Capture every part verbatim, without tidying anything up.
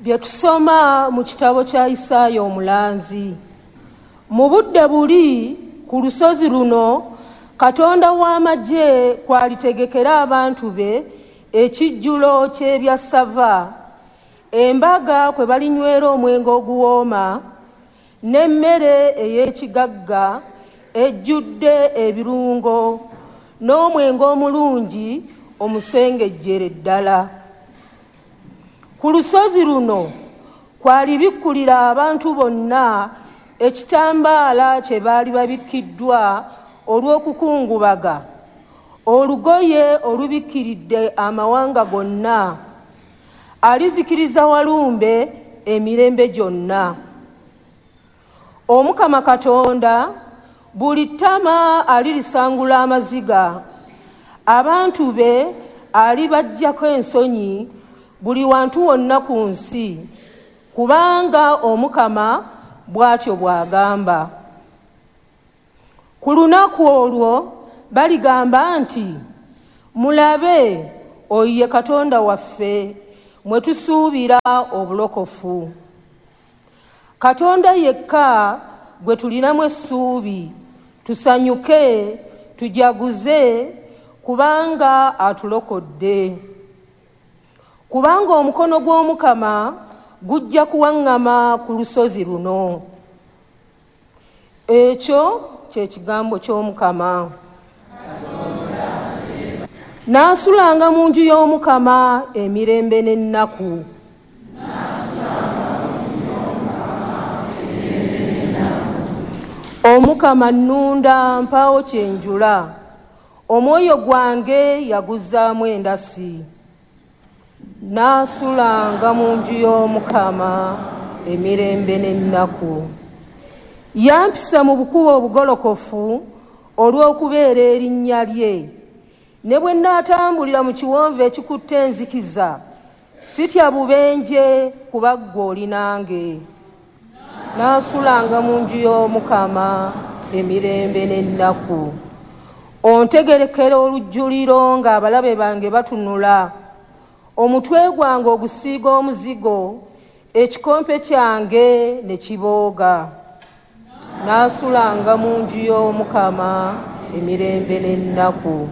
Bye tusoma mu kitabo kya Isaaya omulanzi. Mu budde buli ku lusozi luno Katonda w'amagye kwalitegekera abantu be ekijjulo ky'ebyassava, embaga kwe balinywera omwenge oguwooma, n'emmere ey'ekigagga ejjudde ebirungo, n'omwenge omulungi omusengejjere ddala. Ku lusozi luno kwalibikkulira abantu bonna ekitambaala kye baali babikkiddwa olw'okukungubaga, olugoye olubikkiridde amawanga gonna, alizikiriza walumbe emirembe gyonna. Omukama Katonda buli ttama alirisangula amaziga, abantu be alibaggyako ensonyi buli wantu wonna ku nsi, kubanga Omukama bw'atyo bw'agamba. Ku lunaku olwo baligamba nti, mulabe oyo ye Katonda waffe mwe tusuubira obulokofu. Katonda yekka gwe tulinamu essuubi, tusanyuke tujaguze kubanga atulokodde. Kubanga omukono gw'Omukama gujja kuwaŋŋama ku lusozi luno. Ekyo kye kigambo ky'Omukama. Naasulanga mu nju y'Omukama emirembe n'ennaku. Omukama nnunda mpaawo kye njula, omwoyo gwange yaguzzaamu endasi. Naasulanga mu nju y'Omukama emirembe n'ennaku. Yampisa mu bukubo obugolokofu olw'okubeera erinnya lye. Ne bwe nnaatambulira mu kiwonvu ekikutte enzikiza, sitya bubenje kuba ggwe oli nange. Naasulanga mu nju y'Omukama emirembe n'ennaku. Ontegerekera olujjuliro ng'abalabe bange batunula. Omutwe gwange ogusiiga omuzigo, ekikompe kyange ne kibooga. Naasulanga mu nju y'Omukama emirembe n'ennaku.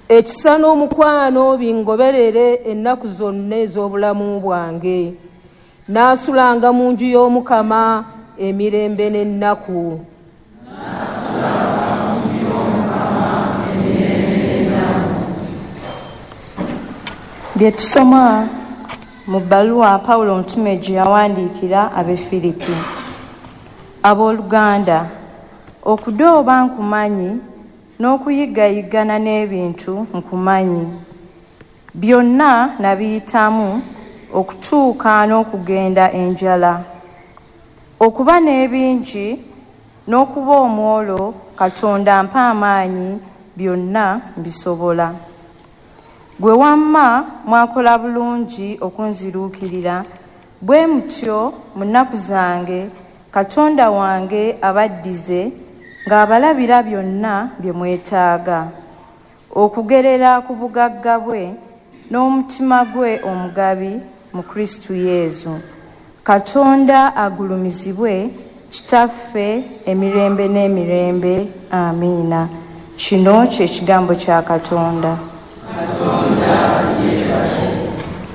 Ekisa n'omukwano bingoberere ennaku zonna ez'obulamu bwange. Naasulanga mu nju y'Omukama emirembe n'ennaku. Bye tusoma mu bbaluwa Pawulo omutume gye yawandiikira ab'e Firipi. Abooluganda, okudooba nkumanyi n'okuyiggayigana n'ebintu nkumanyi. Byonna nabiyitamu okutuuka n'okugenda enjala. Okuba n'ebingi n'okuba omwolo, Katonda ampa amaanyi, byonna mbisobola. Gwe wamma mwakola bulungi okunziruukirira, bwe mutyo mu nnaku zange Katonda wange abaddize ng'abalabira byonna bye mwetaaga, okugerera ku bugagga bwe n'omutima gwe omugabi mu Kristu Yesu. Katonda agulumizibwe Kitaffe emirembe n'emirembe. Amiina. Kino kye kigambo kya Katonda.